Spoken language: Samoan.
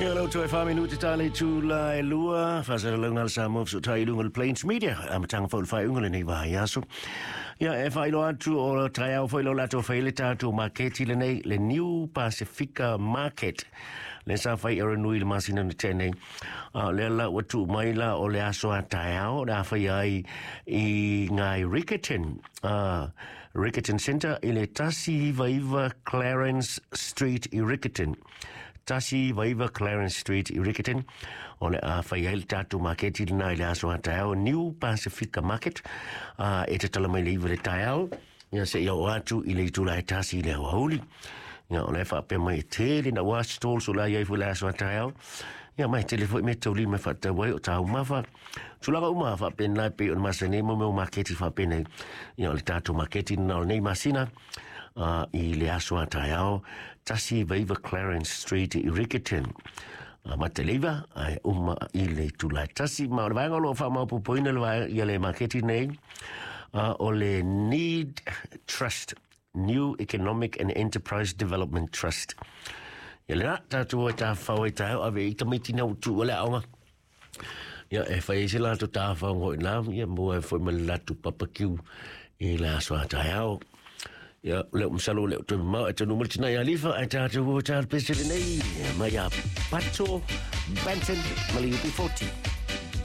Ia lau toe 4 minute ta le itula e 2, faasalalauga a le Samoa Fesootai i luga o le Plains Media, amataga foi o le faaiuga o lenei vaiaso. Ia e faailoa atu o taeao foi lo latou fai le tatou maketi lenei, le New Pacifica Market, le sa fai e nui le masina na tea nei. A o lea la ua tuu mai la o le aso a taeao le a fai ai i ngai Riccarton, Riccarton Center i le 199 Clarence Street i Riccarton. 199 Clarence Street i Riccarton. O le a fai ai le tatou maketi lena i le aso a taeao, New Pacifica Market, e tatala mai le 9 le taeao, ia se ia o atu i le itula e 1 i le aoauli. Ia o le faapea mai e tele na ua stalls o la iai foi le aso a taeao. Ia mai tele foi me tauli me faatau ai o taumafa. Tulaga uma faapena e pei o le masani mo mea maketi faapenei. Ia o le tatou maketi na o lenei masina i le aso a taeao, 199 Clarence Street i Riccarton. Mataleiva ai uma i le itula e 1. Ma o le vaega o lo o faamaopoopoina le vaega ia le maketi nei, o le Need Trust, New Economic and Enterprise Development Trust. Ia le la, tatou e tafafao ai taeao ave i tamaiti na utu o le aoga. Ia e fai ai se latou tafao ngoi la, ia mua e foi ma le latou papakiu i le aso a taeao. Ia le masalo le toe mamao e tonu mai le tina ia Alifa ai tatou o tālu pese lenei mai a Pato Banton ma le UB40.